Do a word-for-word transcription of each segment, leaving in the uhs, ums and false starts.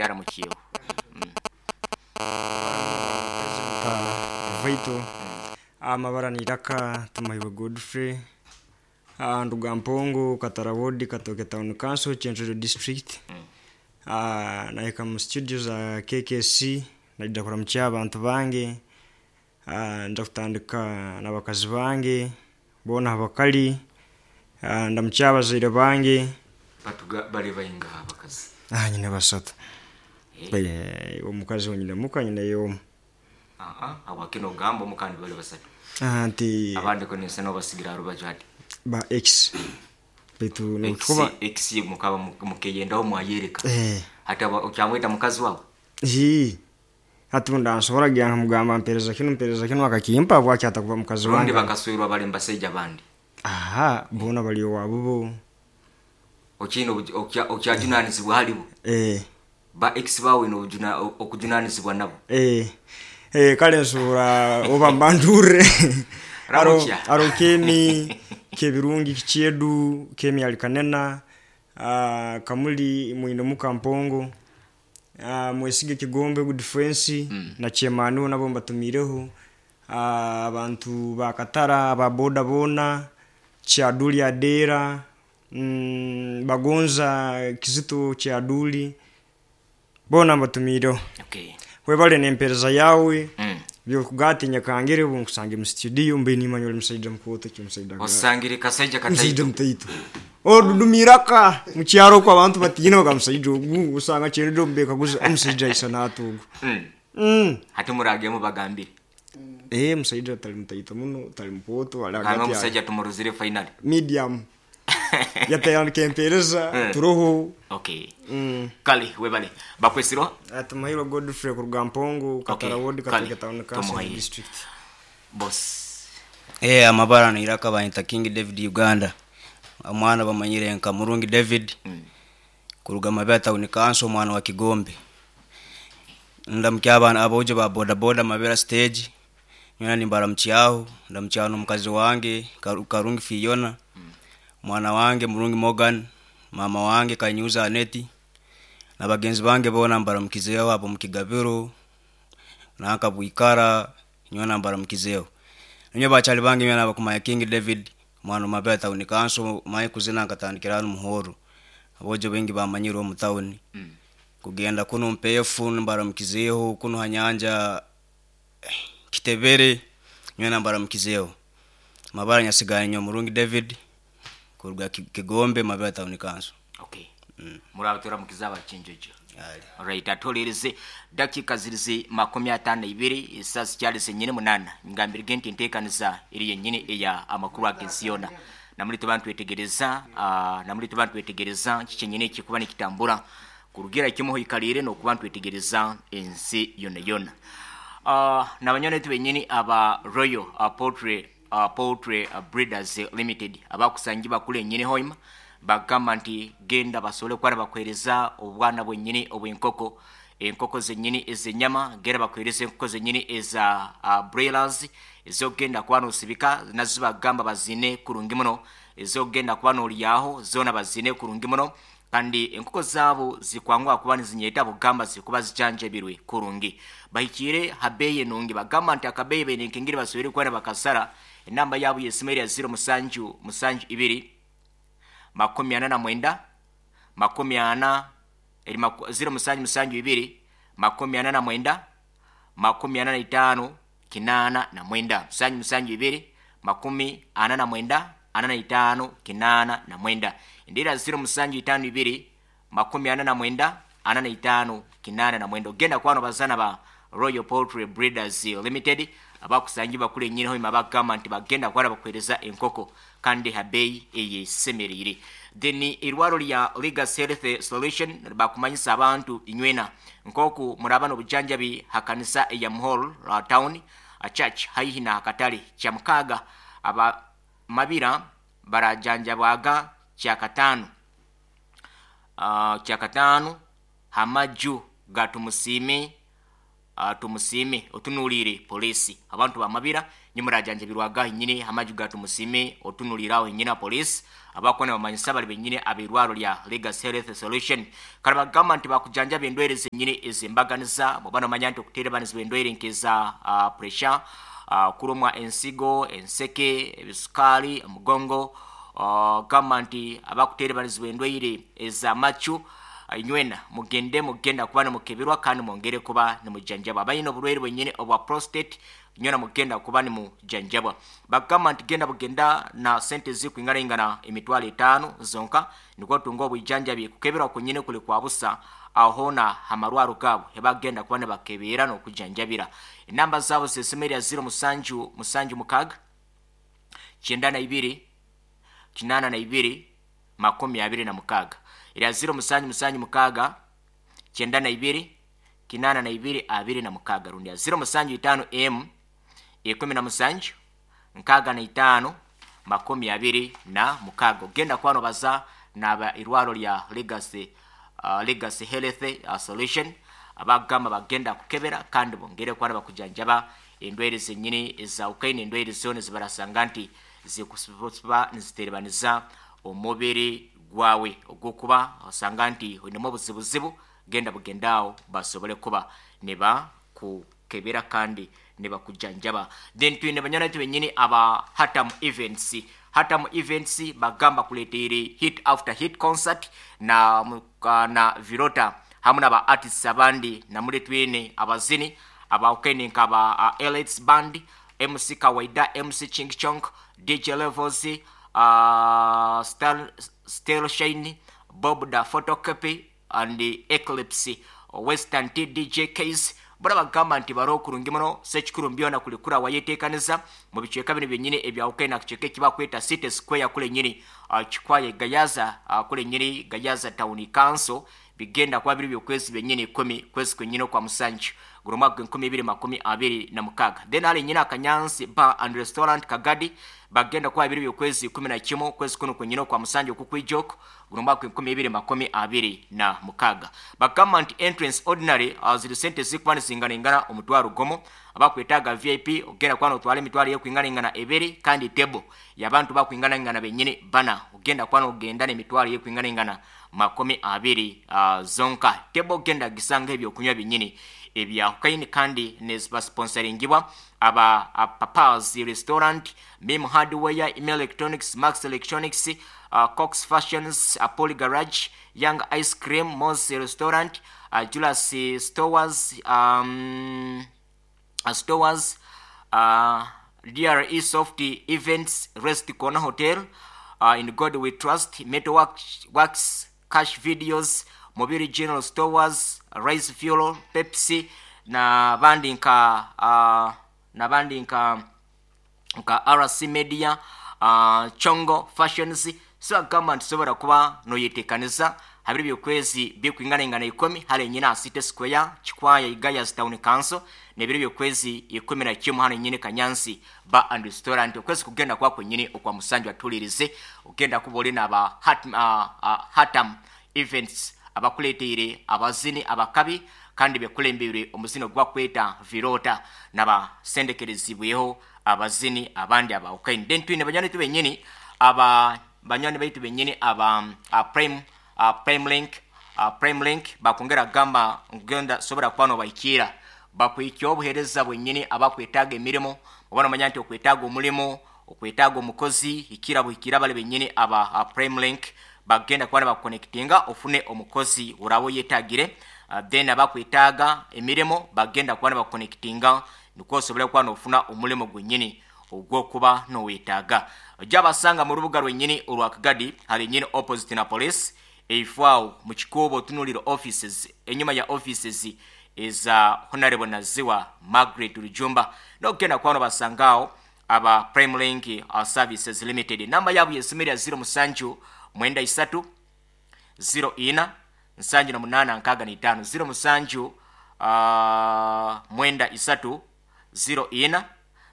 Agenda aramukiyeho. Vaito amabara niraka Tumuhairwe Godfrey, Ah, nduga Mpongo, Katara Ward, Katoke Town Council, Chenjeru District. Ah, nahika mu studio za K K C, naija kuramukya abantu bange. Ah, nja kutandika n'abakazi bange boona abakali. Ah, ndamukya abazaire bange. Batuga bali bainga abakazi? Ah, nyine basatu. Eh. Eh, omukazi wonyine muka nyine yomu. Aha, awakino ogamba omukandi bali basatu. Ah, nti Abandi ko ninsa nobasigira rubaju hati. Ba ex, baitu Ex. nokuba Ex mukaba mukeyendaho mwayereka. Eh. Hati aba- okyamweta mukazi wawe? Hii hati ndansobora gya nkamugamba mpereza kinu, mpereza kinu, akakimpa, bwaki atakuba mukazi Rundi wange? Bakaswirwa bali mbasaija bandi? Aha, bona bali owaabo bo. Okiina obuju- okya- okyajunanizibwa halibo? Eh. Ba ex bawe nobujuna- okujunanizibwa nabo? Eh, eh, kale nsobora oba mbandure. aro Ramukya. Aro kemi kebirungi kikyedu kemi alikanena, uh, kamuli mwine mukampongo, uh, mwesige Kigombe good friends mm. na chemanu nabo mbatumireho, uh, abantu bakatara aba boda bona, Kyaduli Adera, mm, bagonza Kizito Kyaduli, bona mbatumireho. Okay. Webale nempereza yawe. Mm. Byokugatinya kangere ubu nkusange mu studio mbe nimanya oli musaija mukoto ki musaija ga- Osangire kasaija musaija kataito. Mutaito odudumiraka mukyaro ko abantu batiina baga musaija ogu, usanga kyendo mbekaguza omusaija aisa natugu. Mm. mm. Hati muragemu bagambire. Eh, musaija tali mutaito muno, tali mukoto, ali Hanga hagati ya omusaija tumuruzire finally. Medium yatayandika empereza Mm. turoho. Okay. mm. Kale webale bakwesirwa. Tumuhairwe Godfrey kuruga Mpongo, Katara Okay, Ward, kale, Katoke Town Council Tumuhaire. District. Boss. Eh, amabara niraka bayita King David Uganda, omwana bamanyire nka Murungi David Mm. kuruga Mabera Town Council, omwana wa Kigombe. Ndamukya abaana abojo ba boda boda Mabera stage nyona nimbaramukyaho. Ndamukyaho n'omukazi wange Karu- Karungi Fiona, mwana wange Murungi Morgan, mama wange Kanyuza Aneti na bagenzi bange bona mbaramukizeho abo mukigabiro nanka bwikara nyona mbaramukizeho. Ninyo bakyali bange nyona bakumanya King David, mwana wa Mabera Town Council, mayi kuzina nkatandikira hano muhoro, abojo bengi bamanyire omu town. Mm. Kugenda kuno mpefu mbaramukizeho, kuno hanyanja Kitebere nyona mbaramukizeho. Mabara nyasigara nyo Murungi David kuruga Ki- Kigombe, Mabera Town Council. Okay, murabe turamukiza abakinjojo. Ali. Right, atolereze dakika zirize makumi atano ibiri, esasi zikyali zenyini munana. Ngambirige nti enteekaniza eri yennyini eya amakuru ag'ensi yona, namuli tuba ntwetegereza, uh, namuli tuba ntwetegereza kikyenyini ekikuba nikitambura kurugira kimu hoikalire n'okuba ntwetegereza ensi yona yona. uh, nabanywana betu benyini aba Royal uh, Poultry, uh, Poultry uh, Breeders Limited abakusangi bakula enyini hoima, bagamba nti genda basobole kuba bakuhereza obwana bwenyini obw'enkoko, enkoko zenyini ez'enyama. Genda bakuhereza enkoko zenyini eza uh, broilers ez'okugenda kuba nosibika, nazo bagamba bazine kurungi muno, ez'okugenda kuba nolyaho zona bazine kurungi muno. Kandi enkoko zaabo zikwanguha kuba nizinyeta, bugamba zikuba zijanjabirwe kurungi, bahikire habeyi enungi. Bagamba nti akabeyi bene nkengeri basobere kuba bakasara. Enamba yaabo yesimu eri ya zero musanju musanju ibiri makumi ana na mwenda makumi ana eri maku- zero musanju musanju ibiri makumi ana na mwenda makumi ana na itaano kinaana na mwenda, musanju musanju ibiri makumi ana na mwenda ana na itaano kinaana na mwenda. Endera zero musanju itaano ibiri makumi ana na mwenda ana na itaano kinaana na mwenda. Ogenda kwano bazana ba Royal Poultry Breeders Limited abakusangi bakula enyini hoima, bagamba nti bagenda kwala bakuhereza enkoko kandi habeyi eyesemerire. Then irwaro lya Legacy Health Solution bakumanyisa abantu inywena nkoku muraba n'obujanjabi hakanisa eya Muhol uh, Town uh, Church haihi na akatale. Kyamukaga aba Mabira barajanjabwaga kyakataano, uh, kyakataano hamaju ga Tumusiime. uh, Tumusime otunuulire poliisi. Abantu bamabira nimurajanjabirwaga nyine amaju ga Tumusime otunuulire aho nyina poliisi abakona bamanyisa bali benyine abirwaro lya Legacy Health Solution. Kale bagamba nti bakujanjaba endwaire zenyine ezembaganiza bw'oba nomanya nti okuterebanizibwa endwaire nk'eza uh, pressure, uh, kurumwa ensigo, enseke, ebisukaali, omugongo, uh, gamba nti abakuterebanizibwa endwaire ez'amacu inywena mugende mugenda kuba nimukebirwa kandi mwongere kuba nimujanjabwa. Abalina obulwaire bwenyine obwa prostate nywena mugenda kuba nimujanjabwa. Bagamba nti genda bugenda na sente zikwinganaingana emitwalo etaano zonka nikwo tunga obwijanjabi kukeberwa kunyine kuli kwa busa ahona amarwaro gaabo ebagenda kuba nibakebera n'okujanjabira. Enamba zaabo zesemerya ziro musanju musanju mukaga kyenda na ibiri kinana na ibiri makumi abiri na mukaga erya ziro musanju musanju mukaga kyenda na ibiri kinana na ibiri abiri na mukaga rundi ya ziro musanju itaano m ikumi na musanju nkaga na itaano makumi abiri na mukaga. Ogenda kwano baza naba irwaro lya Legacy, uh, Legacy Health uh, Solution abagamba bagenda kukebera kandi bongere kwana bakujanjaba endwaire zenyini ezawukaine endwaire zona zibarasanga nti zikusiba niziterebaniza omubiri gwawe ogwokuba osanga nti oinemu obuzibuzibu genda bugendaawo basobole kuba ne bakukebera kandi ne bakujanjaba. Then twine banyana baitu benyini aba Hatam Events. Hatam Events bagamba kuleteire hit after hit concert na, na Virota hamwe n'aba artists abandi namuri twine abazini abawukaine nk'aba uh, Elites Band, M C Kawaida, M C Ching Chong, D J Levels, uh, Star, Steel Shine, Bob da Photocopy and the Eclipse, Western T D J Case. Bora bagamba nti baro kurungi muno sekikuru mbyona kulikura wayeteekaniza mu bicweka bino byennyini ebyawukaine akicweka ekibakweta City Square kule nnyini uh, Kikwaye Gayaza uh, kule nnyini Gayaza Town Council bigenda kuba biri byokwezi byennyini ikumi kwezi kwennyini okwa musanju guno mwaka gw'enkumi ibiri makumi abiri na mukaga. Then hali nnyini Akanyansi Bar and Restaurant Kagadi bagenda kuba biri byokwezi ikumi na kimu kwezi kuno kwennyini okwa musanju okukwijoko guno mwaka gw'enkumi ibiri makumi abiri na mukaga. Bagamba nti entrance ordinary uh, ziri sente zikuba nizinganaingana omutwaro gumu abakwetaaga V I P ogenda kuba notwala emitwalo y'okwinganaingana ebiri kandi table y'abantu bakwinganaingana bennyini bana ogenda kuba nogenda n'emitwalo y'okwinganaingana makumi abiri uh, zonka. Table ogenda gisanga ebyokunywa binnyini ebyahukaine kandi nezibasponsoringibwa aba Papa's Restaurant, Mim Hardware, Email Electronics, Max Electronics, uh, Cox Fashions, Apollo Garage, Young Ice Cream, Moss Restaurant, uh, Julius Stores, um, uh, Stores, uh, D R E Soft Events, Rest Corner Hotel, uh, In God We Trust, Metal Works, Works, Cash Videos, Mobile General Stores, Rice Fuel, Pepsi na bandi nka uh, na bandi nka nka R C Media, uh, Chongo Fashions. So agamba nti sobola kuba noyeteekaniza habiri byokwezi byekwinganaingana ikumi hali nyina City Square Kikwaya Igaya's Town Council nebiri byokwezi ikumi na kimu hano nyine Kanyansi Bar and Restaurant. Okwezi kugenda kwako nyine okwa musanju atulirize ogenda kuba oli n'aba Hat, uh, uh, Hatam Events abakuleteire abazini abakabi kandi bekulembere omuzino gwakweta Virota n'abasendekerezibweho abazini abandi abawukaine. Then twine banywanyi baitu bennyini aba banywanyi baitu bennyini aba uh, Prime, uh, Prime Link, uh, Prime Link bakongera gamba ngenda sobora kuba nobaikira bakwikya obuhereza bwennyini abakwetaaga emirimu oba nomanya nti okwetaaga omulimu okwetaaga omukozi ikira buhikira bale bennyini aba uh, Prime Link bagenda kuba bakonectinga ofune omukozi urabo yetagire. Uh, then abakwetaaga emirimu bagenda kuba bakonectinga nikwo osobole kuba nofuna omulimu gwennyini ogw'okuba nowetaaga. Ojja basanga mu rubuga lwennyini olwa Kagadi hali nnyini opposite na police eifaawo mu kikuubo otunuulira offices enyuma ya offices eza Honorable Naziwa Margaret Rujumba n'okugenda kuba nobasangaawo aba Prime Link uh, Services Limited. Namba yaabwe y'essimu ya zero musanju mwenda isatu zero ina nsanju na munaana nkaaga na itaano zero musanju uh, mwenda isatu zero ina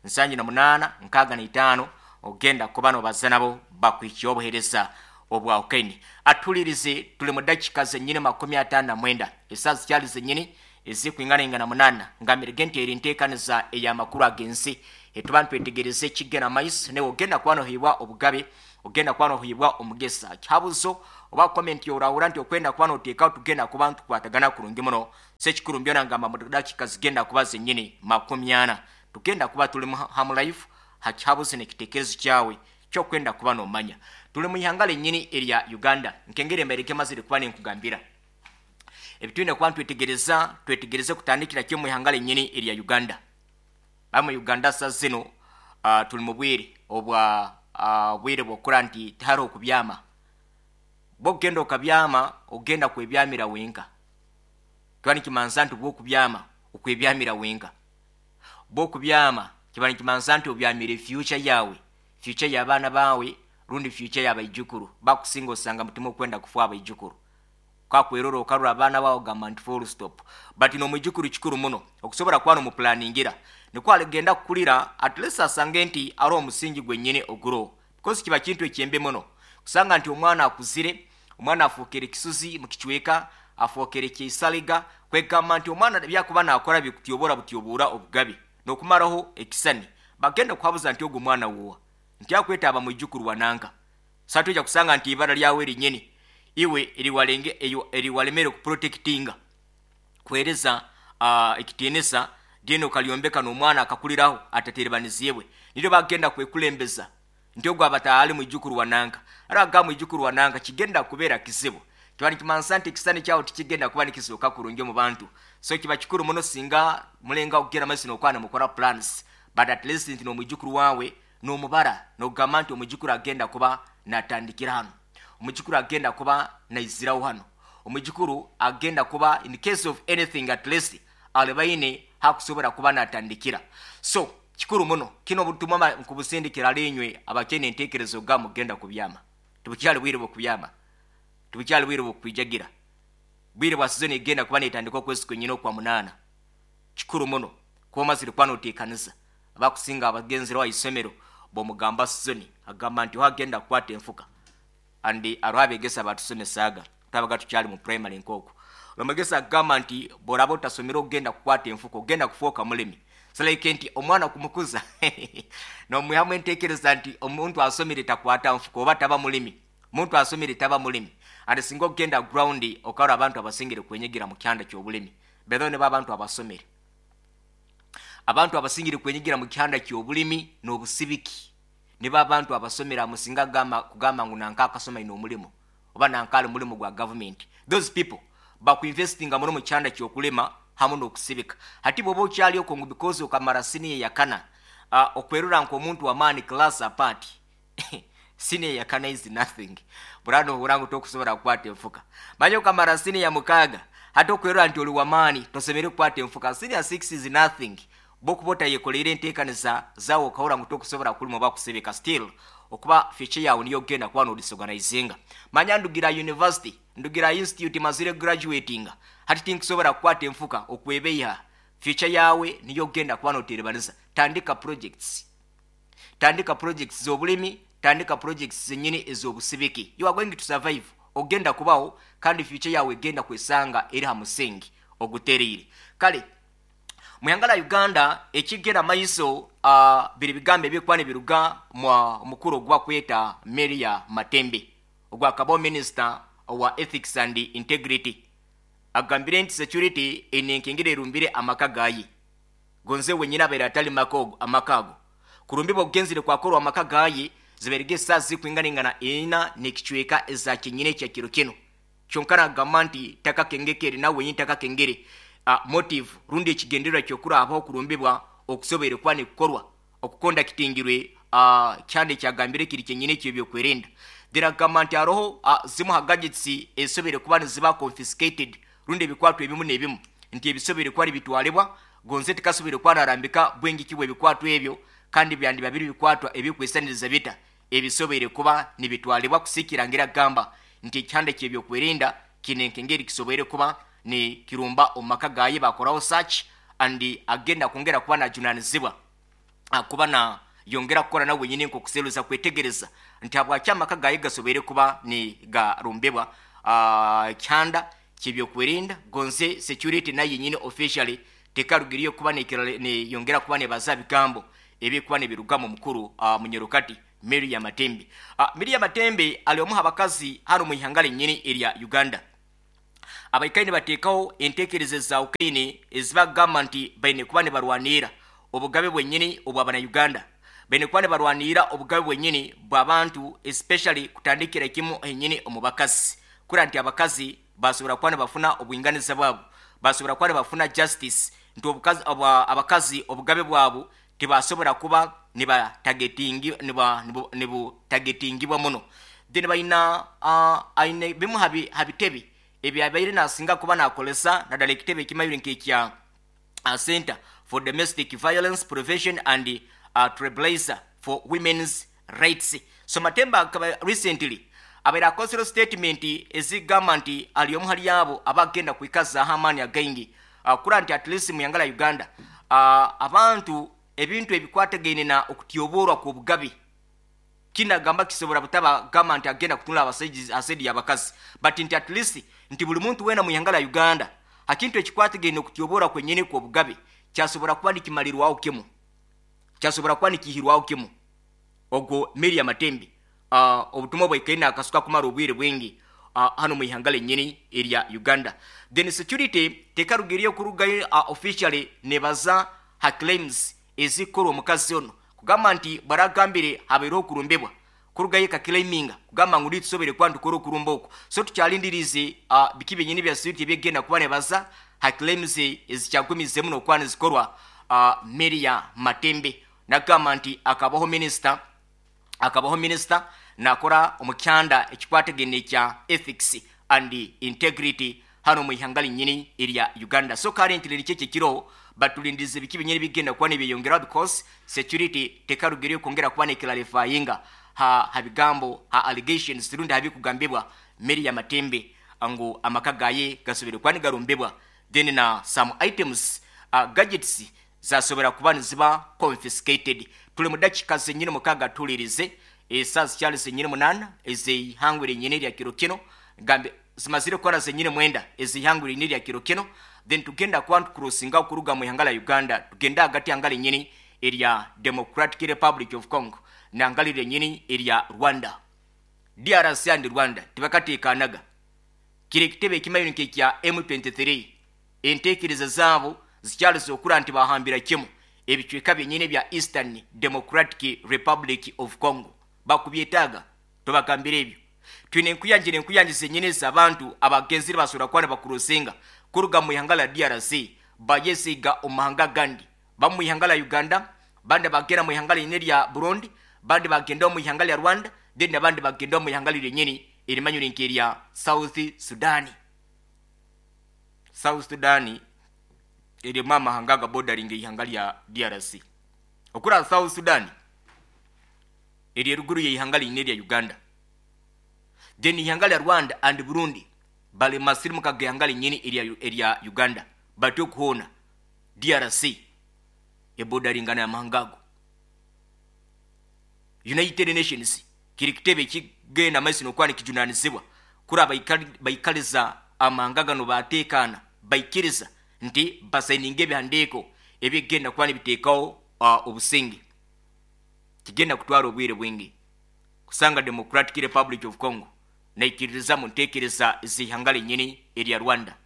nsanju na munaana nkaaga na itaano ogenda kuba nobaza nabo bakwikiye obuheereza obwawukaine. Atulirize tuli mu dakiika zennyini makumi ataano na mwenda essaawa zikyali zennyini Ezikwingana munana ngambire nti eri nteekaniza ey'amakuru ag'ensi etuba ntwetegereze ekigenda maiso newe ogenda kuba nohibwa obugabe, ogenda kuba nohibwa omugesa kihabuzo oba comment yorahura nti okwenda kuba noteekaho tugenda kuba ntukwatagana kurungi muno. Sekikuru mbyona ngamba mu dakika zigenda kuba zenyini makumi ana tugenda kuba tuli hamu live hakihabuzo n'ekitekerezo kyawe kyokwenda kuba nomanya. Tuli mu ihanga lenyini erya Uganda nkengere mbereke mazire kuba nenkugambira ebitwine kuba twetegereza twetegereze kutandikira kyo mu ihanga lenyini erya Uganda. Bamu Uganda sa zino uh, tuli mu bwire obwa uh, bwire bwokura nti tihariho okubyama. Bwogenda okabyama ogenda kwebyamira wenka. Kiba nikimansa nti bwokubyama okwebyamira wenka. Bwokubyama kiba nikimansa nti obyamire future yawe, future y'abaana bawe rundi future y'abaijukuru. Bakusinga osanga mutima okwenda kufa abaijukuru. Kakwerora okarura abaana bawe ogamba nti full stop. But n'omwijukuru kikuru muno okusobola kuba nomupulaningira nikwo aligenda kukulira at least asange nti ari omusingi gwennyini oguro, because kiba kintu ekyembe muno kusanga nti omwana akuzire, omwana afuukire kisuzi mu kicweka, afuukire kyisaliga, kwegamba nti omwana byakuba nakora bikutyobora butyobora obugabe n'okumaraho ekisani bagenda kuhabuza nti ogwo mwana wuwa nti akwetaaba mwijukuru wananka. Satuja kusanga nti ibara lyawe linyini iwe eriwalenge eyo eriwalemere kuprotectinga kuhereza uh, ekitiinisa dino kalyombeka n'omwana akakuliraho ataterebanizibwe niryo bagenda kwekulembeza nti ogwo abataali mwijukuru wananka ara aga mwijukuru wananka kigenda kubeera kizibu. Kiba nikimansa nti ekisani kyawo tikigenda kuba nikisooka kurungi mu bantu. So kiba kikuru muno singa mulenga okugenda maiso n'okwana mukora plans, but at least nti n'omwijukuru wawe n'omubara n'ogamba nti omwijukuru agenda kuba natandikira hano, omwijukuru agenda kuba naiziraho hano, omwijukuru agenda kuba in case of anything at least alibaine hakusobora kuba natandikira. So kikuru muno kino butumwa nkubusindikira linywe abakene entekerezo ga mugenda kubyama. Tubukyali bwire bwo kubyama, tubukyali bwire bwo kwijagira, bwire bwa season egenda kuba netandika okwezi kwenyine okwa munana. Kikuru muno kuba mazire kuba noteekaniza. Abakusinga abagenzere wa isomero bomugamba season agamba nti wagenda kukwata enfuka andi aro abegesa batusomesaaga tabaga tukyali mu primary nkoko. Omugesa agamba nti boraba otasomera ogenda kukwata enfuka ogenda kufuuka mulimi. Selaike nti omwana kumukuza nomwihamu entekereza nti omuntu asomere takwata nfuka oba taba mulimi, omuntu asomere taba mulimi. Andi singa ogenda ground okara abantu abasingire kwenyigira mu kyanda ky'obulimi bedo ne babantu abasomere, abantu abasingire kwenyigira mu kyanda ky'obulimi n'obusibiki niba abantu abasomera musinga gamba kugamba ngu nanka akasoma ino omulimu oba nankali mulimu gwa government. Those people bakuinvestinga muno mu kyanda ky'okulima hamu n'okusibika. Hati bw'oba okyali okwo ngu because okamara siniya yakana uh, okwerura nk'omuntu w'amaani class apart siniya yakana is nothing. Burano ohura ngu tokusobola kukwata enfuka. Manya okamara siniya mukaaga hati okwerura nti oli w'amaani tosemere kukwata enfuka. Siniya six is nothing. Bokuba otayekoleire enteekaniza zaawe okahura ngu tokusobola kulima oba kusibika still okuba future yawe niyo ogenda kuba nodisorganizinga. Manya ndugira university, ndugira institute mazire graduatinga hati tinkusobola kukwata enfuka okwebeiha. Future yawe niyo ogenda kuba noterebaniza. Tandika projects, tandika projects z'obulimi, tandika projects zenyini ez'obusibiki. You are going to survive, ogenda kubaho kandi future yawe egenda kwesanga eri ha musingi ogutereire. Kale muyangala Uganda ekigera maiso uh, biri bigambo ebikuba nibiruga mwa mukuru ogwa kweta Miria Matembe ogwa kabo minister wa ethics and integrity agambire nti security enenkengere erumbire amaka gaye gonze wenyina abaire atali makogo amakago kurumbibwa ogenzire kwakorwa amaka gaye ziberege saa zikwinganingana ina nekicweka eza kinyine kya kiro kino kyonka nagamba nti takakengekere nawe wenyini takakengere uh, motive rundi ekigendererwa kyokurabaho okurumbibwa okusoboire kuba nikukorwa okukonda kitingirwe uh, kyande kyagambire kiri kyenyine ekyo byokwerinda. Diragamba nti haroho uh, zimu ha gadgets ezisoboire kuba niziba confiscated rundi ebikwatwa ebimu n'ebimu nti ebisoboire kuba nibitwalibwa gonze tikasoboire kuba narambika bwengiki bw'ebikwatwa ebyo kandi byandi babiri bikwatwa ebikwesaniriza bita ebisoboire kuba nibitwalibwa kusikirangira gamba nti ekyanda kyebyokwerinda kinenkengeri kisoboire kuba ni kirumba omumaka gaye bakoraho search and agenda kwongera kuba najunanizibwa kuba na yongera kukora nawe wenyini nkokuseruza kwetegereza nti habwaki amaka gaye gasoboire kuba ni garumbibwa uh, kyanda kyebyokwerinda gonze security nayo nyine officially tekarugiriyo kuba neyongera kuba nebaza bigambo ebikuba nebiruga mu mukuru uh, munyerukati Miria Matembe. uh, Miria Matembe ali omuha abakazi hano mu ihanga nyine erya Uganda abaikaine bateekaho enteekereza za ukaine ezibagamba nti baine kuba nibarwanira obugabe bwenyini obw'abana Uganda, baine kuba nibarwanira obugabe bwenyini bw'abantu especially kutandikira kimu enyini omu bakazi, kura nti abakazi basobora kuba nibafuna obwinganiza bwabo, basobora kuba nibafuna justice, nti obukazi abakazi obugabe bwabo tibasobora kuba nibatagetingi niba nibutagetingibwa muno. Then baina uh, aine bimu habi habitebi ebyabaire nasinga kuba nakolesa naddala ekitebe ekimayire nk'ekya uh, Center for Domestic Violence Prevention and uh, Trailblazer for Women's Rights. So Matembe akaba recently abaire akozere statement ezigamba nti ali omu hali abo abagenda kwikaza amaani againgi uh, kura nti at least mu yangala Uganda uh, abantu ebintu ebikwatagaine na okutyoborwa kw'obugabe kinagamba kisobora butaba gamba nti agenda kutunula abasajja asedi abakazi, but nti at least nti buli muntu wena mu yangala Uganda hakintu ekikwatagaine okutyobora kwenyene kw'obugabe kyasobora kuba nikimalirwaho kimu, kyasobora kuba nikihirwaho kimu. Ogwo Miria Matembe uh, obutumwa bwaikaine akasuka kumara obwire bwingi uh, hano mu ihanga lenyini erya Uganda. Then security tekarugiriyo kurugayo uh, officially nebaza ha claims ezikorwa omukazi ono kugamba nti baragambire habeereho okurumbibwa kurugayo kakilaiminga kugamba ngu tusobere kuba ntukora okurumba okwo, so tukyalindirize uh, biki byenyini bya security ebyegenda kuba nebaza ha claims ezikyagumize muno okuba nizikorwa uh, Miria Matembe. Nagamba nti akabaho minister akabaho minister nakora omukyanda ekikwatagene kya ethics and integrity hano mu ihanga linyini erya Uganda. So currently likye kiro batulindize biki binyeri bigenda kuba nibyeyongera because security tekarugiriyo kwongera kuba neclarifyinga ha habigambo ha allegations rundi habikugambibwa Miria Matembe angu amaka gaye gasubire kwani garumbibwa, then na some items uh, gadgets zasobera kuba niziba confiscated. Tuli mu dakika zenyini mukaga tulirize esaa zikyali zenyini munana ezihangwire nyini lya kiro kino gambe zimazire kora zenyini mwenda ezihangwire nyini lya kiro kino, then tugenda kuba tukurusinga okuruga mu ihanga la Uganda tugenda hagati yanga lenyini erya Democratic Republic of Congo nanga lenyini erya Rwanda. D R C and Rwanda tibakateekanaga kiri ekitebe ekimayiro nk'ekya M twenty-three enteekereza zaabo zikyaliza okura nti bahambira kimu ebicweka byenyini bya Eastern Democratic Republic of Congo bakubyetaaga tobagambira ebyo. Twine enkuyanjira enkuyanji zenyini z'abantu abagenzire basobora kuba nibakurusinga kuruga mu ihanga la D R C bayesiga omu mahanga gandi, bamu mu ihanga la Uganda, bandi bagenda mu ihanga linyini lya Burundi, bandi bagenda mu ihanga lya Rwanda, then abandi bagenda mu ihanga lyenyini erimanyire nk'erya South Sudan. South Sudan erimu amahanga ga bordering ihanga lya D R C. Okura South Sudan eri eruguru y'ihanga linyini lya Uganda, then ihanga lya Rwanda and Burundi bali masirimu kagihanga linyini erya erya Uganda batyo kuhona D R C ebodaringana ya mahangago. United Nations kiri kitebe kigenda maiso nokwani kijunanizibwa kura baikaliza amahanga gano batekana baikiriza nti basayininge ebihandiiko ebigenda kuba nibiteekawo uh, obusinge kigenda kutwara obwire bwingi kusanga Democratic Republic of Congo naikiririza mu nteekereza z'ihanga lenyini erya Rwanda.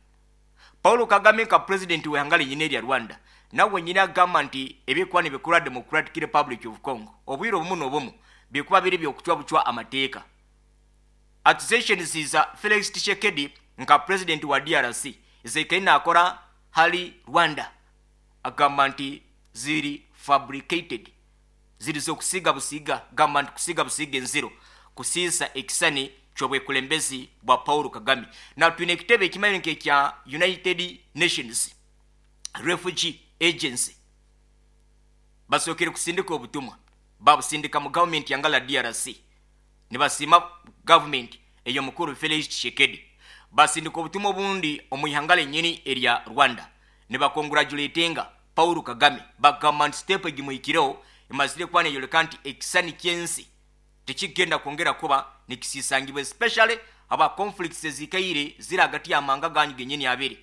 Paulo Kagame nka president w'ihanga lenyini erya Rwanda nawe nyina agamba nti ebikuba nibikora Democratic Republic of Congo obwire obumu n'obumu bikuba biri by'okucwa bucwa amateeka. Accusations za Felix Tshisekedi nka president wa D R C zekaina akora hali Rwanda agamba nti ziri fabricated, ziri zokusiga busiga, gamba nti kusiga busiga enziro kusiisa ekisani ky'obwekulembezi bwa Paulo Kagame. Na twine ekitebe ekimanyi nk'ekya United Nations Refugee Agency basookere kusindika obutumwa babusindika mu gavumenti yangala D R C nibasiima gavumenti ey'omukuru Felix Tshisekedi, basindika obutumwa obundi omu ihanga lenyini erya Rwanda nibakongratulatinga Paulo Kagame bagamba nti step egimuhikireho emazire kuba neyoleka nti ekisani ky'ensi tekigenda kwongera kuba nikisisangibwa especially Aba conflicts ezikaire ziri hagati y'amahanga ganyu genyini abiri,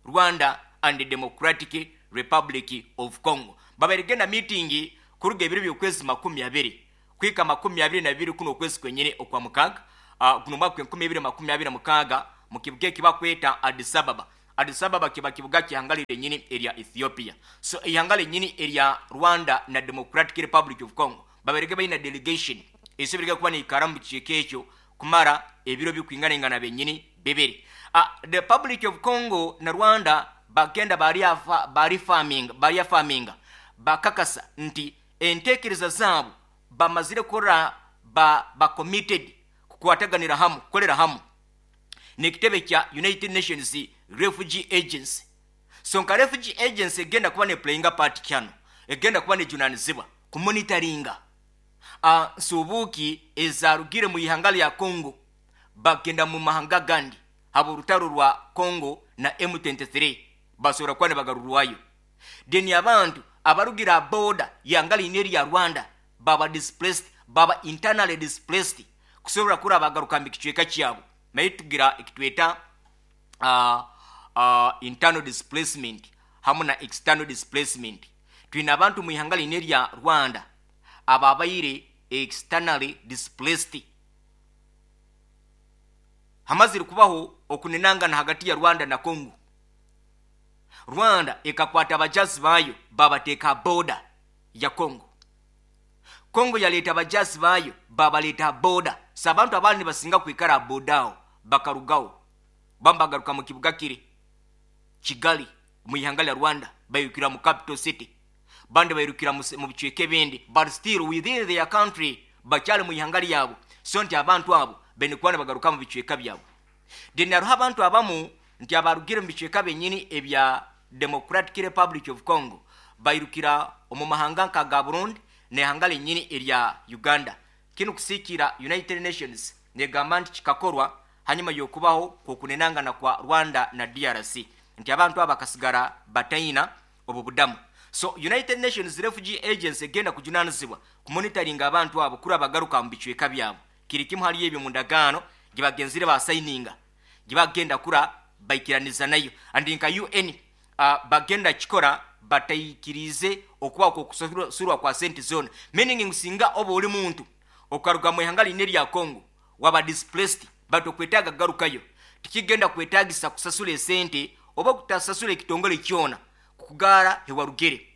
Rwanda and the Democratic Republic of Congo. Babairege na meeting kuruga ebiro by'okwezi makumi abiri kwika makumi abiri na bibiri kuno okwezi kwenyini okwa mukaga, uh, guno mwaka enkumi ibiri makumi abiri na mukaga, mu kibuga ekibakweta Addis Ababa. Addis Ababa kiba kibuga ky'ihanga lyenyini erya Ethiopia. So ihanga lyenyini erya Rwanda na Democratic Republic of Congo babairege balina delegation esobirege kuba neikara mu kikiiko ekyo kumara ebiro bikwinganingana benyini bibiri. Uh, the Republic of Congo na Rwanda bagenda bari afa, bari farming, bari farming bakakasa nti entekereza zaabo bamazire kora ba, ba committed kukwataganira hamu, kukolera hamu n'ekitebe kya United Nations Refugee Agency. So nka Refugee Agency egenda kuba ne playing a part kyano, egenda kuba nejunanizibwa ku monitoringa uh, nsubuki ezarugire mu ihanga lya Congo bagenda mu mahanga gandi haba urutaro rwa Congo na M twenty-three basobora kuba nebagarurwayo. Then abantu abarugira border yanga lineri ya Rwanda baba displaced, baba internally displaced kusobora kura bagaruka mu kicweka kyabo. Naye tugira ekitweta, uh, uh, internal displacement hamwe na external displacement. Twina abantu mu ihanga lineri ya Rwanda ababaire externally displaced. Hamazire kubaho okunenangana hagati ya Rwanda na Congo. Rwanda ekakwata abajazi bayo babateeka border ya Congo. Congo yaleeta abajazi bayo babaleeta border. So abantu abandi basinga kwikara border aho bakarugaho bambagaruka mu kibuga kiri Kigali mu ihanga lya Rwanda, bayirukira mu capital city, bandi bayirukira mu se-, mu bicweka ebindi, but still within their country bakyali mu ihanga lyabo. So nti abantu abo bene kuba bagaruka mu bicweka byabo. Then hariho abantu abamu nti abarugire mu bicweka benyini ebya Democratic Republic of Congo bayirukira omu mahanga nka ga Burundi n'ihanga lenyini erya Uganda. Kino kusikira United Nations negamba nti kikakorwa hanyuma yokubaho kokunenangana kwa Rwanda na D R C nti abantu aba bakasigara bataina obu budamu. So United Nations Refugee Agency egenda kujunanizibwa ku monitoring abantu abo kuri abagaruka mu bicweka byabo. Kiri kimwe hali ebyo mu ndagaano gye bagenzire basayininga gye bagenda kura baikiraniza nayo. And nka U N, uh, bagenda kikora batayikirize okuba ko kusurwa kwa sente zone, meaning nsinga oba oli muntu okaruga mu ihanga lineri ya Congo waba displaced bato kwetaga garukayo tikigenda kwetagisa kusasula esente oba kutasasula ekitongole kyona kukugara hewarugere.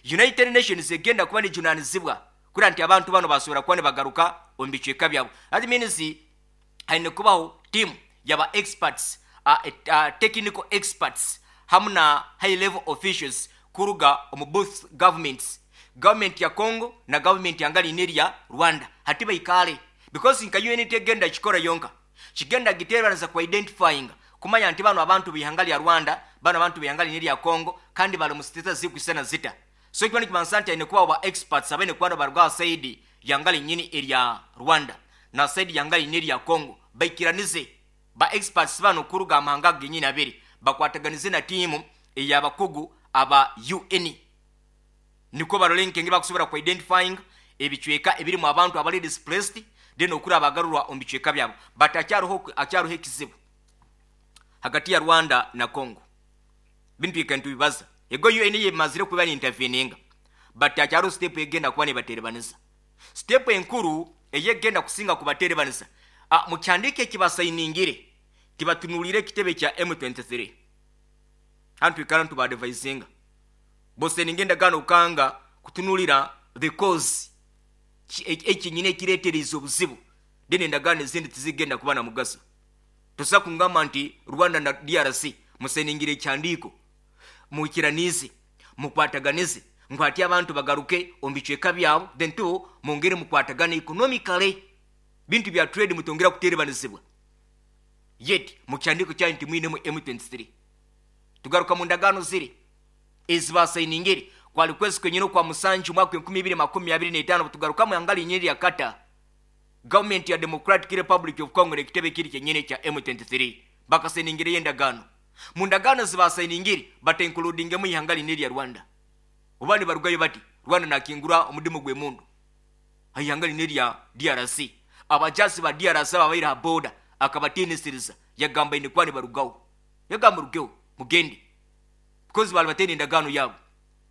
United Nations egenda kuba nejunanizibwa kuri nti abantu bano basobora kuba bagaruka omu bicweka byabo. That means haine kubaho team yaba experts, uh, uh, technical experts hamwe na high level officials kuruga omu both governments, government ya Congo na government ya ngali ya Rwanda hati baikale, because nka U N tegenda kikora yonka kigenda giteraniza ku identifying kumanya nti bano abantu bihangali ya Rwanda, bano abantu bihangali ya Congo kandi bali mu status zikwisana zita. So ikiba ni kimansanti ine kuba ba experts abene kuba barwa side ya ngali nyini ya Rwanda na side ya ngali ya Congo baikiranize ba experts bano kuruga amahanga genyini abiri bakwataganize na timu eyabakugu aba U N niko barolenke ngiba kusobora ku identifying ebicweka ebiri mu abantu abali displaced then okura abagarurwa omu bicweka byabo. But akyaruho akyaruho ekizibu hagati ya Rwanda na Congo bintu ikantu bibaza ego U N yemazire kuba ni interveninga but akyaruho step egenda kuba ne baterebanisa step enkuru eyegenda kusinga kubaterebanisa. Ah, mukyandike kibasayiningire tibatunulire kitebe kya M twenty-three hantu ikara ntu badvisinga bose ningenda gano ukanga kutunulira the cause ekinyine kiretereza obuzibu then endagaano ezindi tizigenda kuba na mugaso. Tusa kungamba nti Rwanda na D R C museningire ekyandiko mukiranize mukwataganize nkwati abantu bagaruke omu bicweka byabo then two mungere mukwatagane economically bintu bya trade mutongera kuterebanizibwa yet mukyandiko kyanyu nti mwine mu M twenty-three. Tugaruka mu ndagaano ziri ezibasayiningire kwali kwezi kwenyine kwa musanju mwaka enkumi ibiri makumi abiri n'etaano tugaruka mu angali nyeri ya kata government ya Democratic Republic of Congo ekitebe kiri kyenyine kya M twenty-three bakaseningire endagaano. Mu ndagaano zibasayiningire bata including mu ihanga lineri ya Rwanda. Obani barugayo bati Rwanda nakingura omudimu gwe mundu ihanga lineri ya D R C. Abajasi ba D R C babaira border Akabatiinisiriza, yagamba ine kuba nibarugaho, yagamba rugeho mugende, because bali batene endagaano yabo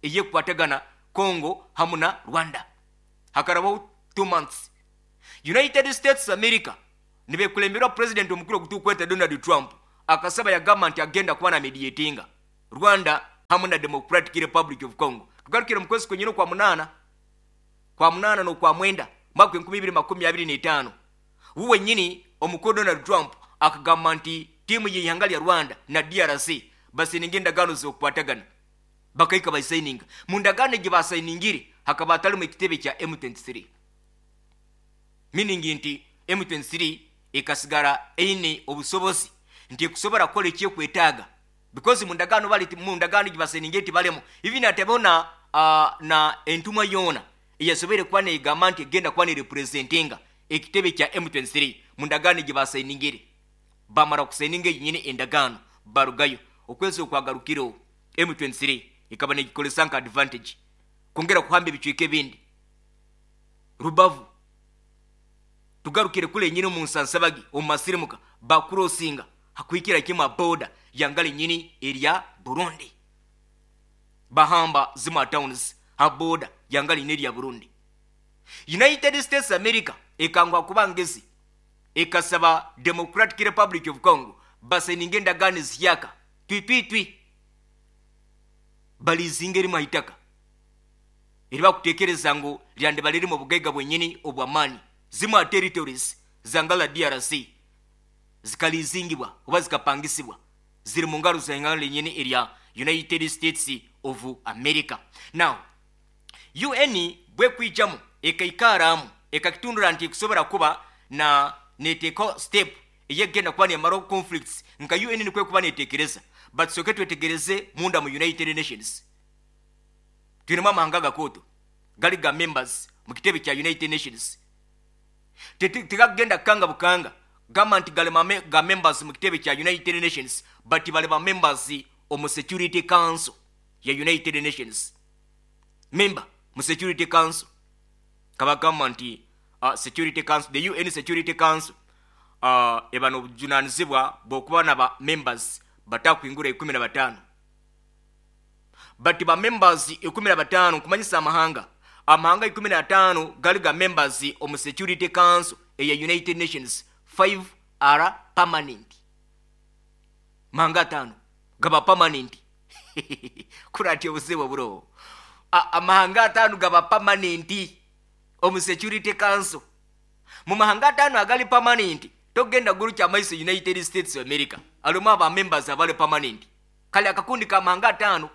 eyekukwatagana Congo hamu na Rwanda. Hakarabaho two months, United States America nibekulemberwa president omukuru ogutukweta Donald Trump akasaba, yagamba nti agenda kuba na mediatinga Rwanda hamu na Democratic Republic of Congo. Tugarukire mu kwezi kwenyine kwa munana, kwa munana n'okwa mwenda, mwaka enkumi ibiri makumi abiri n'etaano, wu wenyini omukuru Donald Trump akagamba nti tiimu y'ihanga lya Rwanda na D R C basininga endagaano z'okukwatagana. Bakahika basayininga. Mu ndagaano egi basayiningire hakaba hatalimu ekitebe kya M twenty-three, meaning nti M twenty-three ekasigara eine obusobozi nti ekusobora kukola ekyekwetaaga, because mu ndagaano bali mu ndagaano egi basayiningire tibalemu even atabeho na, uh, na entumwa yoona eyasoboire kuba negamba nti egenda kuba nerepresentinga ekitebe kya M twenty-three mu ndagaano egi basayiningire. Bamara kusayininga eyinyine endagaano, barugayo. Okwezi okwagarukireho, M twenty-three ikaba negikolesa nka advantage kwongera kuhamba ebicweka ebindi. Rubavu, tugarukire kule nyini mu nsansabagi omu masirimuka, bakurosinga hakuhikira kimwe boda yangale nyini erya Burundi, bahamba zima towns ha boda yangale nyini erya Burundi. United States America ekangwa kuba ngezi, ekasaba Democratic Republic of Congo basayininga endagaano ezihyaka twitwitwi, balizinga erimu haitaka eri bakutekereza ngu lyandiba lirimu obugaiga bwenyini obwamaani. Zimu territories zangala D R C zikalizingibwa oba zikapangisibwa, ziri mu ngaro z'ihanga lenyini erya United States of America. Now U N bwekwijamu ekaikaramu, ekakitundura nti ekusobora kuba na neteeka step eyegenda kuba nemaraho conflicts nka U N nikwe kuba netekereza. But soke twetegereze munda mu United Nations, twinemu amahanga gakoto gali ga members mu kitebe kya United Nations. Tegagenda kanga bukanga gamba nti gali mame, ga members mu kitebe kya United Nations, but bali ba members omu Security Council ya United Nations. Member mu Security Council, kabagamba nti uh, Security Council, the U N Security Council uh, eba n'obujunanizibwa bw'okuba na ba members batakwingura ikumi na bataano, but ba members ikumi na bataano, nkumanyisa amahanga amahanga ikumi na ataano gali ga members omu Security Council eya United Nations, five are permanent. Mahanga ataano gaba permanent. Kurati obuzibu buroho. Amahanga ataano gaba permanent omu Security Council. Mu mahanga ataano agali permanent, togenda gulu kyamaiso United States of America alimu aba members abali permanent. Kale akakundi ka mahanga ataano,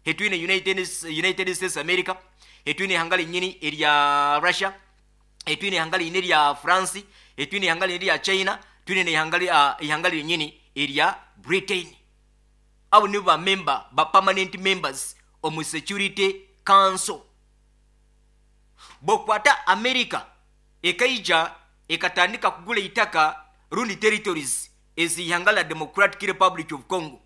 hetwine united, united States America, hetwine ihanga linyini erya Russia, etwine ihanga linyini erya France, etwine ihanga linyini erya China, twine neihanga uh, ihanga linyini erya Britain. Abo nibo ba member ba permanent members omu Security Council. Bokwata America ekaija ekatandika kugula itaka rundi territories ezihanga la Democratic Republic of Congo.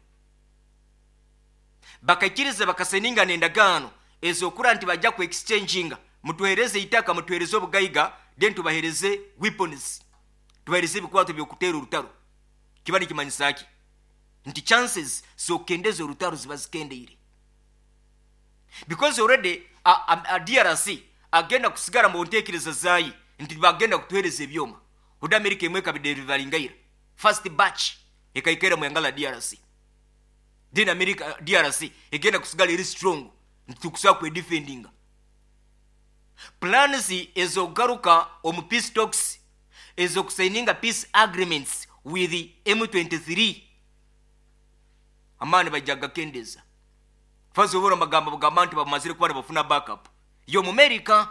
Bakaikiriza, bakasayininga nendagaano ezokura nti bajja ku exchanginga, mutuhereze itaka, mutuhereze obugaiga, then tubahereze weapons, tubahereze ebikwato byokutera orutaro. Kiba nikimanyisa ki? Nti chances zokendeza orutaro ziba zikendeire, because already a, a, a D R C agenda kusigara mu ntekereza zayi nti bagenda kutuhereza ebyoma. Odi America emwe ekabideliveringaira, first batch ekaikera mu yanga la D R C. Then America, D R C egenda kusigala eri strong nti tukusobola kwedefendinga. Plans ezogaruka omu peace talks, ezokusayininga peace agreements with M twenty-three, amaani bajja gakendeza. Fasobora amagambo bugamba nti bamazire kuba nibafuna backup y'omu America.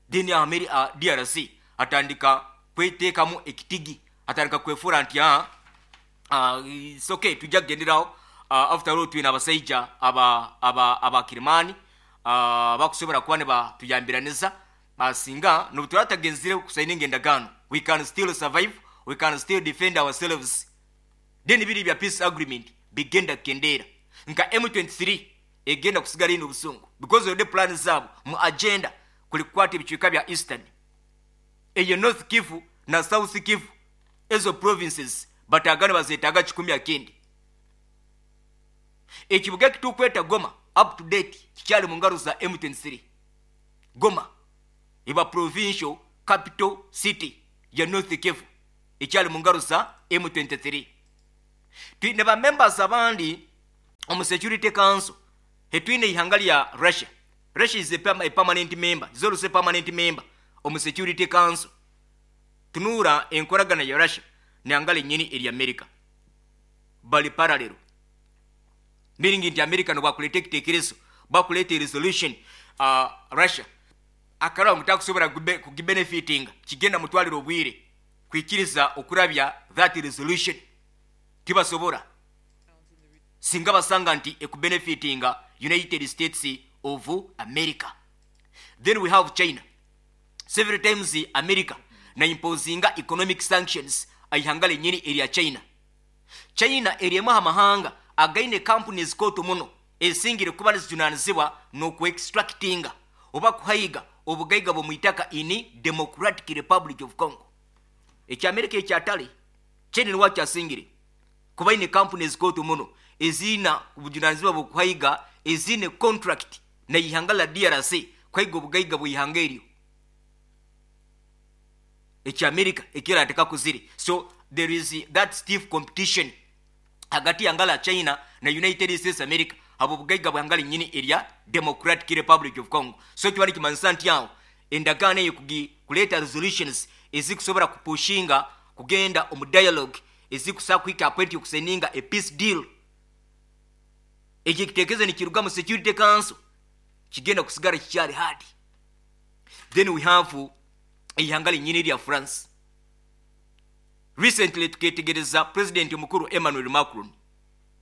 Then Ameri, uh, D R C atandika kweteekamu ekitigi, atandika kwefura nti ah, uh, it's okay, tujja kugenderawo. uh, after all twine abasaija aba aba abakirimani uh, bakusobora kuba nibatuyambiraniza. uh, singa nobu turatagenzire kusayininga endagaano, we can still survive, we can still defend ourselves. Then biri bya peace agreement bigenda kukendera, nka M twenty-three egenda kusigala ino obusungu, because already plan zaabo mu agenda kuli kukwata ebicweka bya eastern, eyo North Kivu. Na South Kivu, ezo provinces batagana bazeetaga kikumi akindi. Ekibuga ekitukweta Goma up to date kikyali mu ngaro za M twenty-three. Goma eba provincial capital city ya North Kivu, ekyali mu ngaro za M twenty-three. Twine ba members abandi omu Security Council. Hetwine ihanga lya Russia. Russia is a, perma- a permanent member, is also a permanent member omu Security Council. Tunuura enkoragana ya Russia nehanga lenyini erya America, bali parallel, meaning nti America nobwakuleta ekitekerezo, bwakuleta resolution, uh, Russia akaraba ngu takusobola kugibenefitinga, kigenda mutwalira obwire kwikiriza okurabya that resolution. Tibasobola singa basanga nti ekubenefitinga United States of America. Then we have China. Several times America na imposinga economic sanctions aihanga lenyini erya China. China eriemu amahanga againe companies koto muno esingire kuba nizijunanizibwa n'okuextractinga oba kuhaiga obugaiga bw'omwitaka in Democratic Republic of Congo. Ekyamerika ekyatale, China niwa kyasingire kuba ine companies koto muno ezina obujunanizibwa bw'okuhaiga, ezine contract na ihanga la D R C kuhaiga obugaiga bw'ihanga eryo. Ekyamerika ekiraateka kuzire. So there is that stiff competition hagati ya ngala China na United States America abo bugaiga bwangala nyini erya Democratic Republic of Congo. So kiba nikimanyisa nti awo endagaano eyo kugi kuleta resolutions ezikusobola kupushinga kugenda omu dialogue ezikusobola kuhika point yokusigninga a peace deal, ekyo ekitekerezo nikiruga mu Security Council, kigenda kusigara kikyali hard. Then we have ihanga linyini lya France. Recently tuketegereza President omukuru Emmanuel Macron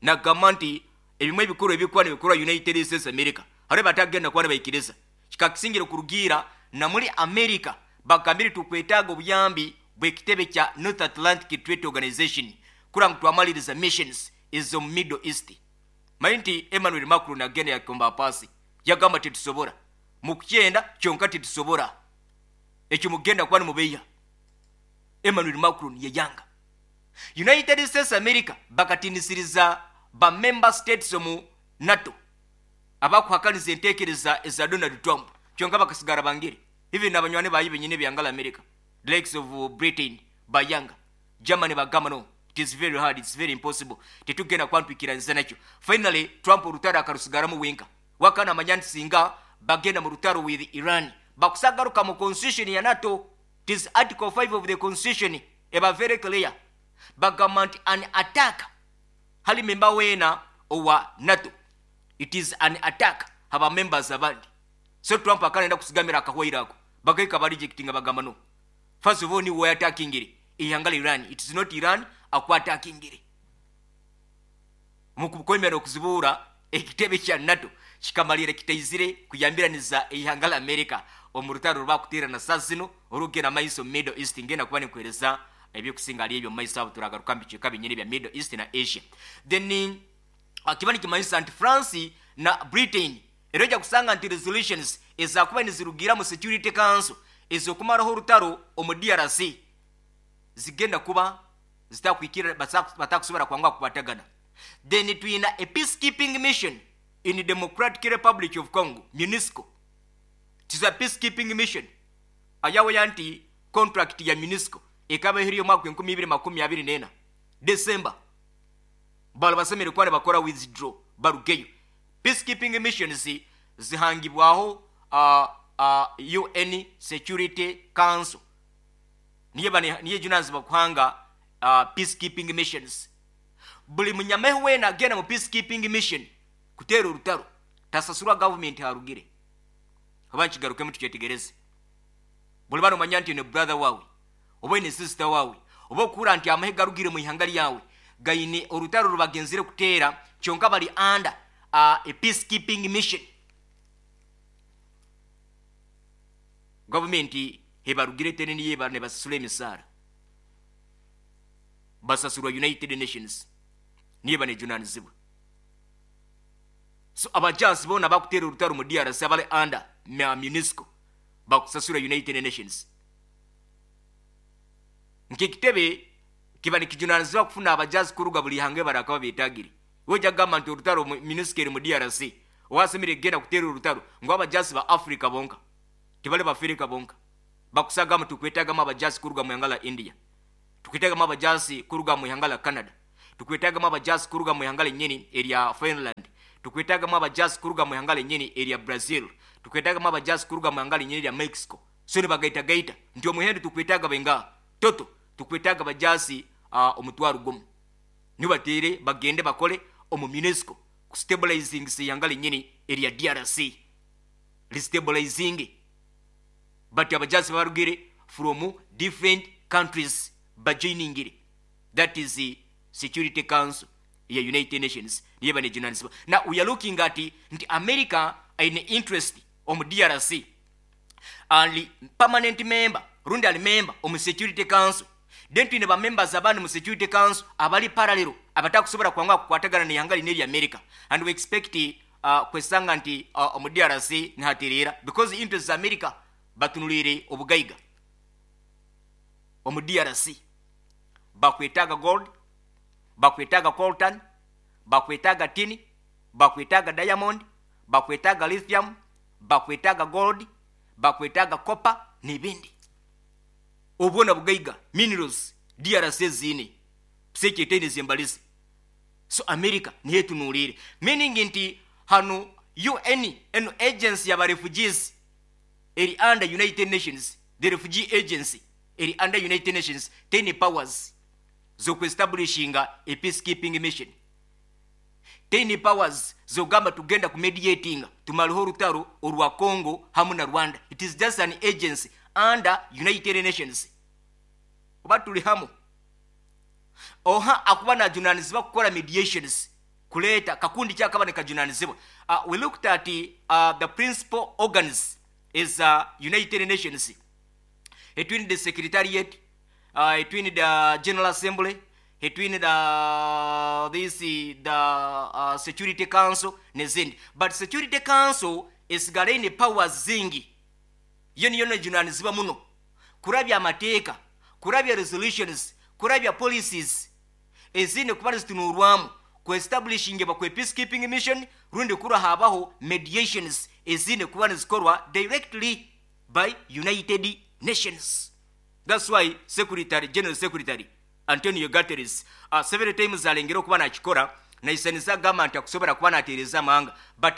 nagamba nti ebimwe ebikuru ebikuba nibikorwa United States America hariho batagenda kuba nibaikiriza. Kikakisingire kurugiira na muri America bagambire tukwetaaga obuyambi bw'ekitebe kya North Atlantic Treaty Organization kura ngu twamaliriza missions ez'omu Middle East. Manyi nti Emmanuel Macron agenda yakomba pasi, yagamba tetusobora mukukyenda kyonka, tetusobora ekyo mugenda kuba nimubeya. Emmanuel Macron yeyanga. United States America bakatinisiriza ba member states omu NATO abakuhakaniza entekereza eza Donald Trump, kyonka bakasigara bangire. Even nabanywani bayi benyine byangala America, the likes of Britain bayanga, Germany bagamba no, it is very hard, it's very impossible, tetugenda kwantwikiraniza nakyo. Finally Trump olutalo akarusigaramu wenka. Wakana amanya nti singa bagenda mu lutalo with Iran, bakusagaruka mu constitution ya NATO. It is article five of the constitution, eba very clear. Bagamba nti an attack hali memba weena owa NATO, it is an attack haba members abandi. So Trump akanenda kusigamira akahwaire ako, bagaika barejectinga, bagamba no, first of all niwe attackingire ihanga la Iran, it is not Iran akwattackingire. Mukukomera okuzibuura ekitebe kya NATO kikamalira kitaizire kuyambiraniza ihanga la America omu rutaro rwakuteerana saa zino orugenda maiso mu Middle East. Ngenda kuba ninkuhereza ebyokusinga ali ebyo mumaiso abo, turagaruka mubicweka binyini bya Middle East na Asia. Then kiba nikimanyisa nti France na Britain era ojja kusanga nti resolutions ezakuba nizirugira mu Security Council ezokumaraho orutaro omu D R C zigenda kuba zitakwikira, batakusobola kwanga kukwatagana. Then twina a peacekeeping mission in Democratic Republic of Congo, MONUSCO. It is a peacekeeping mission ayawe nti contract ya MONUSCO ekaba eheriyo omwaka enkumi ibiri makumi abiri nena December. Bala basemere kuba bakora withdraw barugeyo. Peacekeeping missions zihangibwaho uh, uh, U N Security Council, niye bane niye junazibwa kuhanga uh, peacekeeping missions. Buli munyameho wena agenda mu peacekeeping mission kuteera orutaro tasasurwa government harugire. Oba nkigarukemu tukyetegereze. Buli bano manya nti ne brother wawe oba ne sister wawe oba okura nti amahe garugire mu ihanga lyawe gaine orutaro rubagenzire kuteera, kyonka bali under uh, a peacekeeping mission, gavumenti hebarugire tene niye ne basasula emisaara, basasulwa United Nations, niye banejunanizibwa. So abajansi bona bakuteera orutaro mu D R C abali under MONUSCO bakusasula United Nations. Nk'ekitebe kiba nikijunanizibwa kufuna abajazi kuruga buli ihanga barakaba betagire. Wojja kugamba nti orutaro MONUSCO eri mu D R C, owasemire kugenda kuteera orutaro ngu abajazi ba Africa bonka, tibali bafirika bonka. Bakusagamu tukwetagamu abajazi kuruga mu ihanga la India, tukwetagamu abajazi kuruga mu ihanga la Canada, tukwetagamu abajazi kuruga mu ihanga lenyini erya Finland, tukwetagamu abajazi kuruga mu ihanga lenyini erya Brazil, tukwetagamu abajazi kuruga mu ihanga lenyini erya Mexico. So nibagaitagaita nti omuhendo tukwetaga benga toto tukwetaga abajazi uh, omutwaro gumu, nibatere bagende bakole omu MONUSCO kustabilizing ihanga lenyini erya D R C, restabilizing. But abajazi barugire from different countries bajoiningire. That is the Security Council ya United Nations, niye banejunanizibwa. Now we are looking at nti America aine interest omu D R C, ali permanent member rundi ali member omu Security Council. Then twine ba members abandi mu Security Council abali parallel, abatakusobola kwanga kukwatagana nehanga lino erya America. And we expect uh, kwesanga nti uh, omu D R C nihaterera because interest za America batunulire obugaiga omu D R C. Bakwetaga gold, bakwetaga coltan, bakwetaga tin, bakwetaga diamond, bakwetaga lithium, bakwetaga gold, bakwetaga copper n'ebindi. Obwona bugaiga, minerals, D R C ziine sekyetaine zembalizi. So America niyo etunuulire, meaning nti hano U N eno agency yaba refugees eri under United Nations. The refugee agency eri under United Nations, ten powers zokuestablishinga a peacekeeping mission, ten powers zogamba tugenda kumediatinga tumaleho orutaro orwa Congo hamu na Rwanda. It is just an agency under United Nations. Oba tuli hamu? Oha akuba najunanizibwa kukora mediations kuleeta kakundi kyakaba nekajunanizibwa. uh, we looked at uh, the principal organs is uh, United Nations, between the secretariat, uh, between the General Assembly, between the this the uh, Security Council nezindi. But Security Council esigala ine powers zingi, yo niyo nejunanizibwa muno kurabya amateeka, kurabya resolutions, kurabya policies ezindi kuba nizitunurwamu kuestablishing bakwe peacekeeping mission rundi kura habaho mediations ezindi kuba nizikorwa directly by United Nations. That's why secretary general, Secretary Antonio Guterres, uh, several times alengera okuba nakikora naisaniza agamba nti akusobola kuba nateereza amahanga, but